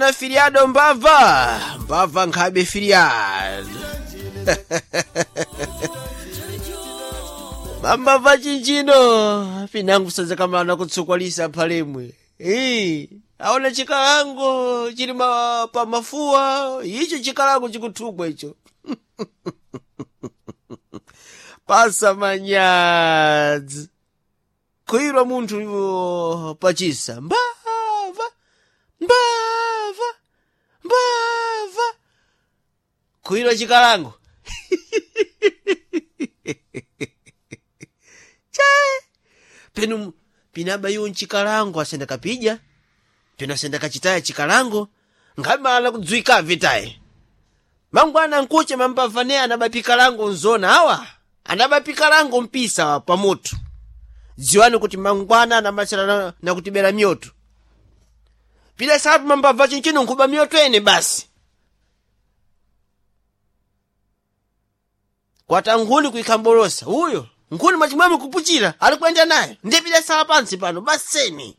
Na filiado mbava mbava nkhabe filiado mambava chinchino pinangu sadzakamana kutsukwalisa phalemwe. Ii, aona chikalango chili pa mafuwa icho chikalango chikuthukwa icho pasa manyadzi khwirwa munthu iwo pachisa mbava mbava mbava khwirwa chikalango che penu pinaba iwo nchikalango asenda kapija penu asenda kachitaya chikalango ngamala kudzwika vitaye mangwana nkuche mambava ne anabapikalango nzona awa anabapikalango mpisa pamoto dziwani kuti mangwana anamachera na kutibera mioto pila sapu mambava chinchino nkhuba mioto ene basi kwata nkhuni kuikhambolosa uyo nkhuni mwachimwemwe kupuchira ali kuyenda nayo ndiye pila sala pansi pano baseni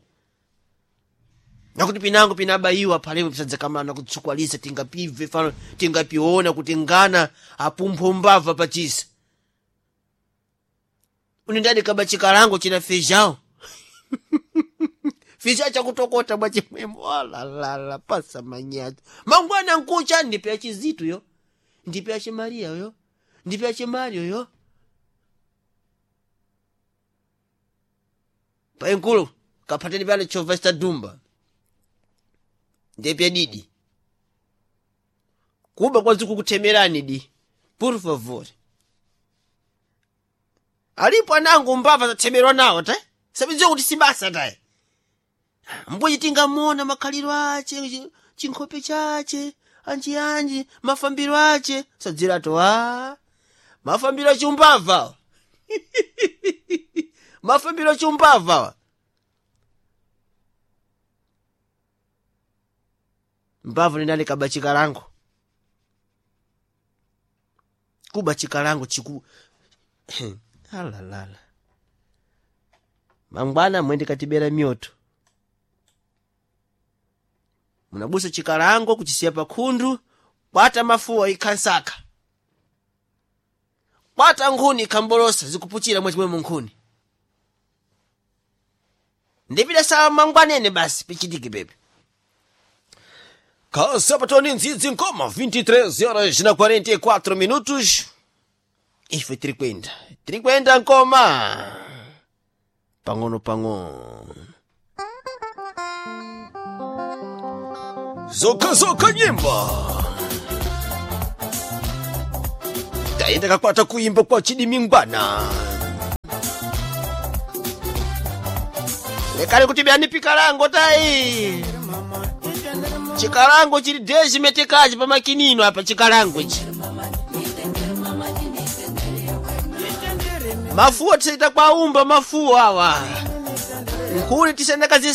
nakuti pinango pinabayiwa phalemo pisadzakamana kutsukwalisa tingapibve fano tingapiona kuti ngana apumpho mbava pachisa unendadi kaba chikalango china feijão feijão chakutokota bwa chimwemwe alalala pasa manyazi mangwana nkucha ndipe ya chizitu yo ndipe ya chimaria yo ndipe ya chimario yo paenkulu kaphateni pale chova chitadumba ndipe didi kuba kwazikukuthemerani di por favor alipo anango mbava zathemerwa nawo ta sabidziwa kuti sibasa taye mbuyi tingamona makhaliro ache chinkhope chache anjianji mafambiro ache sadzirato a mafambiro achiumbava mafambiro achiumbava mbava nendali kaba chikalango kuba chikalango chiku alalala mangwana mwende katibera mioto munabusa chikalango kuchisiya pakhundu kwata mafuwa ikhansaka kwata nkhuni ikhambolosa zikupuchira mwachimwemo nkhuni ndipita sawa mangwanene basi pichitike pepe Kasapatoni ndzidzi nkoma 23 horas na 44 minutos ife tiri kwenda tiri kwenda nkoma pang'ono pang'ono zoka nyimbo taenda kakwata kuimba kwa chidimingwana lekani kuti byani pikalango tayi chikalango chili dezimetekachi pamakinino apa chikalango ichi mafuwa tisaita kwaumba mafuwa awa nkhuni tisendakazi